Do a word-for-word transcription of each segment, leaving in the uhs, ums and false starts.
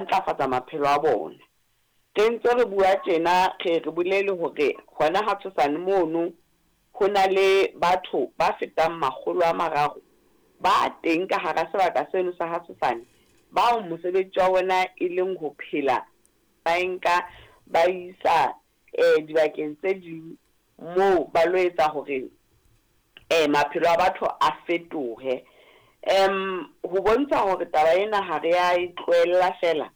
Ntlafatsa maphelo a bona. Re ntse re bua tjena, re re bolele hore hona ha Tshosane mono ho na le batho ba fetang makgolo a mararo ba teng ka hara sebaka seno sa ha Tshosane, bao mosebetsi wa bona e leng ho phela ba e nka ba isa eh dibakeng tse ding moo ba lo etsa hore eh maphelo a batho a fetohe. Um ho bontsha hore taba ena ha re a e tlohella fela,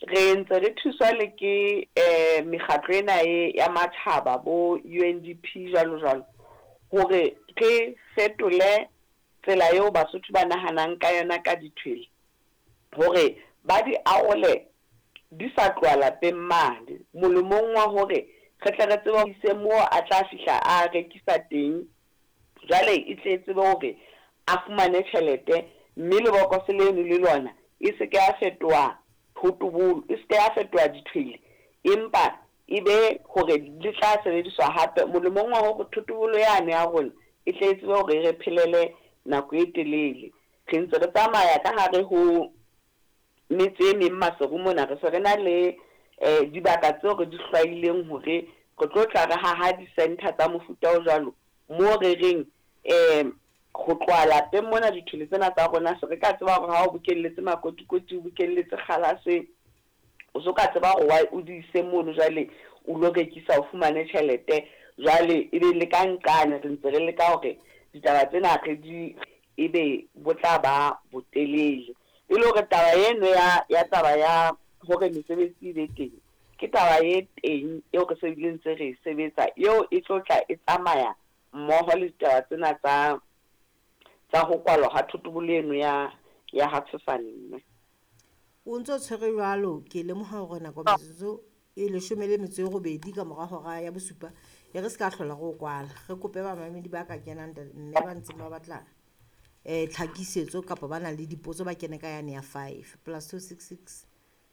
re ntse re thuswa le ke eh mekgatlo ena e ya matjhaba bo U N D P jwalo jwalo, hore re fetole tsela eo Basotho ba nahanang ka yona ka dithwele, hore ba di arole di sa tloha lapeng mane, molemong wa hore re tle re tsebe ho ise moo a tla fihla a rekisa teng. Jwale e tle tsebe hore a fumane tjhelete, mme lebokose leno le lona e se ke ya fetoha thotobolo, e se ke ya fetoha dithwele, empa e be hore le tla sebediswa hape molemong wa hore thotobolo yane ya rona e tle tsebe hore re phelele nako e telele. Re ntse re tsamaya ka hare ho metse e meng Maseru mona, re se re na le eh dibaka tseo re di hlwaileng hore re tlo tla re haha di-center tsa mofuta o jwalo, moo re reng eh ho tloha lapeng mona dithwele tsena tsa rona se re ka tseba hore ha o bokelletse makotikoti, o bokelletse kgalase, o so ka tseba hore wa o di ise mono jwale o lo rekisa o fumane tjhelete. Jwale e be le ka nqane re ntse re leka hore ditaba tsena re di ebe bo tla ba botelele, e le hore taba eno ya ya taba ya hore mesebetsi e be teng ke taba e teng eo re se bile ntse re e sebetsa, eo e tlo tla e tsamaya mmoho le ditaba tsena tsa tsa ho kwalwa ha thotobolo eno ya ya ha Tshosane. Mme o ntso tshwere jwalo, ke lemoha hore nako metsotso e leshome le metso e robedi ka mora hora ya bosupa, e re se ka hlola re o kwala. Re kope bamamedi ba ka kenang mme ba ntseng ba batla eh tlhakisetso kapa ba nang le dipotso ba kene ka yane ya five plus two six six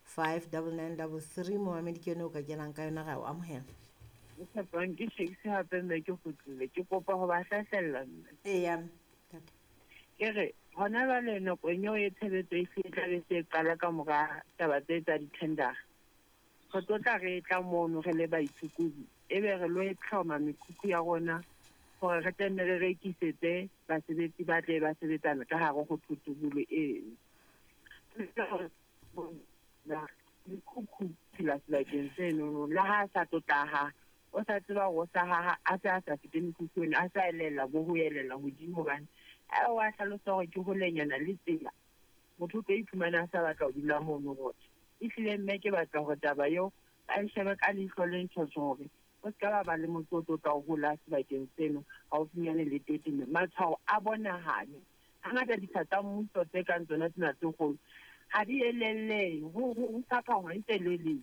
five double nine double three. Momamedi ke yone o ka kenang ka yona, re a o amohela. Tshepang ke Shakes hape mme ke kgutlile, ke kopa ho ba hlahlella mme. Eya. Ke re hona jwale nakong eo e tshebetso e hlile tla be se qala ka mora taba tse tsa di-tender, re tlo tla re tla mono re le baitshokodi, ebe re lo e tlhoma mekhukhu ya rona hore re tle nne re rekisetse basebetsi ba tle ba sebetsana ka hare ho thotobolo eno. Mekhukhu phela sebakeng senono, le ha a sa tlo tlaha, o sa tseba hore o sa haha, a se a sa fete mekhukhu eno, a sa elella bo ho elella hodimo, hobane a wa hlalosa hore ke holenyana le tsela, motho o tlo iphumana a sa batla ho dula mono rothe. Ehlile mme ke batla hore taba eo ba e shebe ka leihlo le ntjhotjho hore o se ka ba ba le motse o tlo tla o hola sebakeng seno haufinyane le toti, mme matshwao a bonahale. Hangata ditsha tsa mmuso tse kang tsona tsena tse kgolo ha di elellehe, ho ho fapangwa e telele.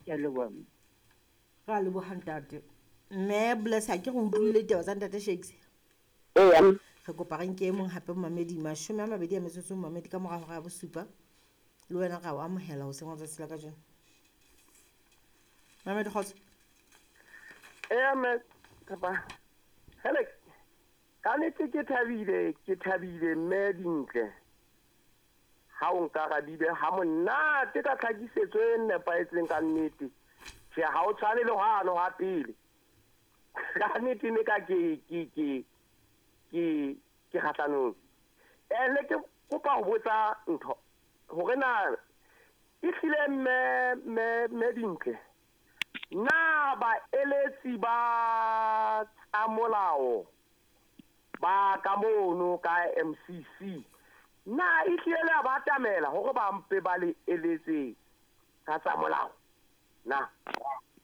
Ke a leboha mme. Re a leboha ntate. Mme Bless, ha ke re utlwile ditaba tsa ntate Shakes? Eya. Re kopa re nke e mong hape momamedi, mashome a mabedi a metsotso momamedi ka mora hora ya bosupa. Le wena re a o amohela hoseng wa tsatsi la kajeno. Mamedi kgotso. Eya mme, Tshepa. Hele, ka nnete ke thabile, ke thabile mme Dintle. Ha o nkarabile ha monate ka tlhakisetso e nepahetseng ka nnete. Tjhe, ha o tshwane le hwane ha pele. Ka nnete ne ka ke ke ke ke ke kgahlanong. Eh ne ke kopa ho botsa ntho hore na ehlile mme mme mme Dintle, na baeletsi ba tsa molao ba ka mono ka M C C na ehlile le a ba atamela hore ba mpe ba le eletse ka tsa molao na?